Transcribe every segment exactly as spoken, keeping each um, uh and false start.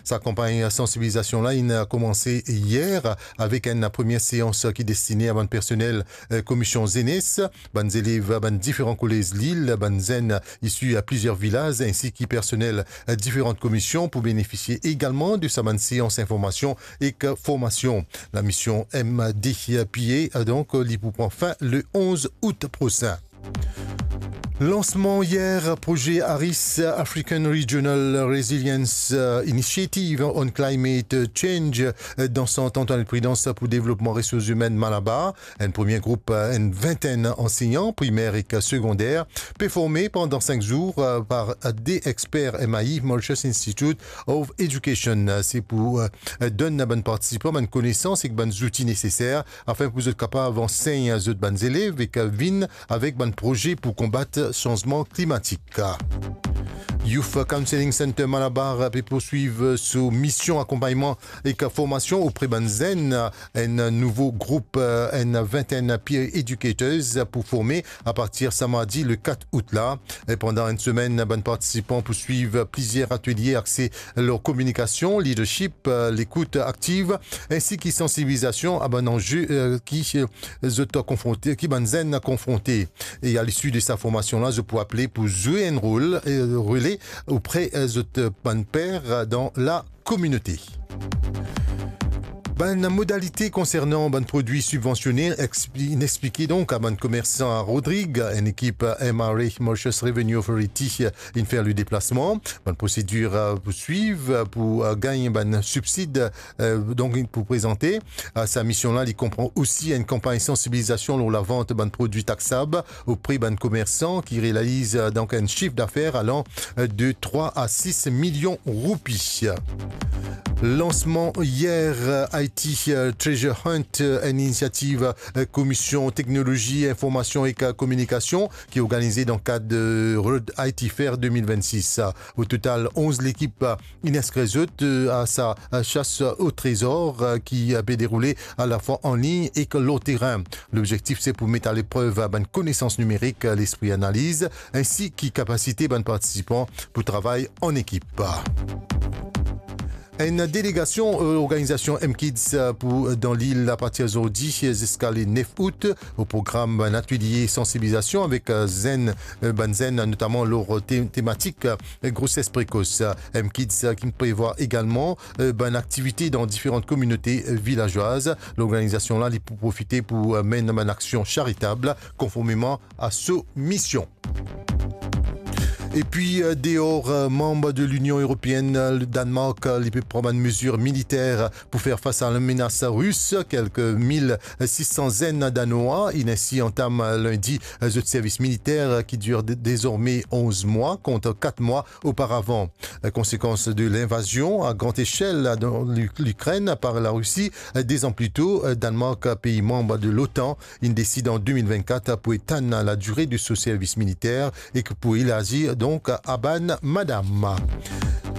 Sa kanpagn sansibilizasion la inn koumanse yer avek enn premie seans ki destine a bann personel, eh, Komisyon Zenes, bann zelev bann diferan kolez Lil, bann zenn isi a plizier vilaz, ensi ki personel, eh, diferan komisyon pou benefisie egalman de sa bann seans informasion ek formasion. Lamision M D P A, donk, li pou pran fin le onz out prosin. Lansman yer proze ARIS, African Regional Resilience, euh, Initiative on Climate Change, euh, dan Sant Antoinette Prudence pou Devlopman Resours Imenn Malabar. Enn premie group, euh, enn vintenn ansegnan primer ek segonder, pe forme pandan sink zour, euh, par de exper M I E, Mauritius Institute of Education. Se pou, euh, donn bann partisipan bann konesans ek bann zouti neseser afin pou zot kapav ansegn zot bann zelev ek vinn avek bann proze pou konbat sanzman klimatik. Youth Counselling Center Malabar pe poursuiv so mision akonpagnman ek formasion opre bann zenn. Enn nouvo group, enn vintenn peer educators pou forme apartir sa mardi le kat out la. E pandan enn semenn, bann partisipan pou swiv plizier atelie axe lor kominikasion, leadership, lekout aktiv, ensi ki sansibilizasion a bann anze, eh, ki, eh, zot konfronte, ki bann zenn konfronte. E a lisi de sa formasion la, zot pou apele pou zwe enn rol, eh, rele opre, eh, zot bann per dan la kominote. Bann modalite konsernan bann prodwi sibvansione expli-, inn explike donk a bann komersan a Rodrig. Enn ekip M R A, Mauritius Revenue Authority, inn fer le deplasman. Bann prosedir, eh, pou swiv, eh, pou, eh, gagn bann sibsid, eh, donk pou prezante. Eh, sa mision la, li konpran osi enn kanpagn sansibilizasion lor lavant bann prodwi taksab opre bann komersan ki realiz, eh, donk enn sif dafer alan, eh, de trwa a sis milion roupi. Lansman yer, eh, I T, eh, Treasure Hunt, eh, enn inisiativ, eh, Komisyon Teknolozi, Informasion ek, eh, Kominikasion ki organize dan kad, eh, Road I T Fair de mil vennsis. O total, onz lekip, eh, inn inskrir zot, eh, a sa, eh, sas o trezor, eh, ki, eh, pe deroule alafwa anlign ek lor terin. Lobzektif se pou met a leprev bann konesans nimerik, lespri analiz, ensi ki kapasite bann partisipan pou travay an ekip. Enn delegasion, eh, organizasion M Kids, eh, pou, eh, dan lil apartir zordi, eh, ziska le nef out. O program, bann atelie sansibilizasion avek, eh, zenn, eh, bann zenn, notaman lor te-, tematik, eh, groses prekos. M Kids, eh, ki prevwa egalman, eh, bann aktivite dan diferan kominote, eh, vilazwaz. Lorganizasion la, li pou profite pou, eh, menn bann aksion charitab konformeman a so mision. Epi, eh, deor, eh, manb de Linion Eropeenn, eh, le Danemark, eh, li pe pran bann mezir militer pou fer fas a lamenas ris. Kelke mil sis san zenn Danwa inn ensi antam, eh, lindi, eh, zot servis militer, eh, ki dir de-, dezorme onz mwa kont kat mwa oparavan. Eh, konsekans de linvazion a gran echel dan Lu-, Likrenn par Larisi, eh, dez an pli to, eh, Danemark, pei manb de l'OTAN, inn deside an de mil vennkat pou etann ladire de so servis militer ek pou elarzi donk a bann madam.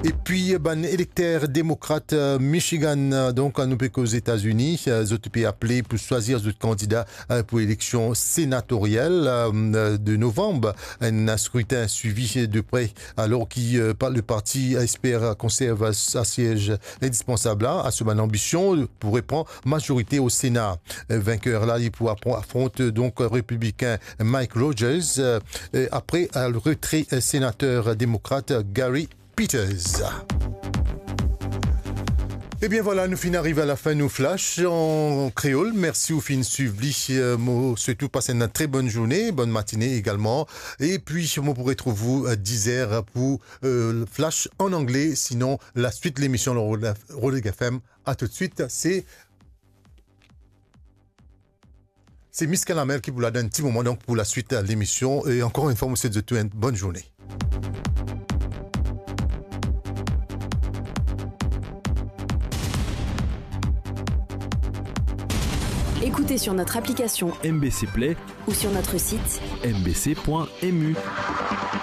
Epi bann elekter demokrat, eh, Michigan, eh, donk nou pe koz Etazini, eh, zot pe apele pou swazir zot kandida, eh, pou eleksion senatoriel, eh, de novanm, enn skritin swivi de pre, alor ki, eh, pa-, le parti esper konserv sa siez indispansab la a so bann anbision pou repran mazorite o Sena. Eh, venker la, li pou apro-, afront, eh, donk, repiblikin Mike Rogers, eh, eh, apre, eh, le retre, eh, senater demokrat Gary Peters. Ebien vwala, nou finn ariv a lafin nou flash an kreol. Mersi ou finn swiv li. Eh, mo swet ou pas enn tre bonn zourne, bonn matine egalman. Epi mo pou retrouv ou, eh, diz er pou, eh, flash an angle. Sinon, laswit lemision lor Rodeg F M. A toutswit, se Se Miss Kalamel ki pou la dan enn ti moman, donk pou laswit, eh, lemision. E ankor enn fwa, mo swet zot tou enn bonn zourne. Écoutez sur notre application M B C Play ou sur notre site M B C point M U.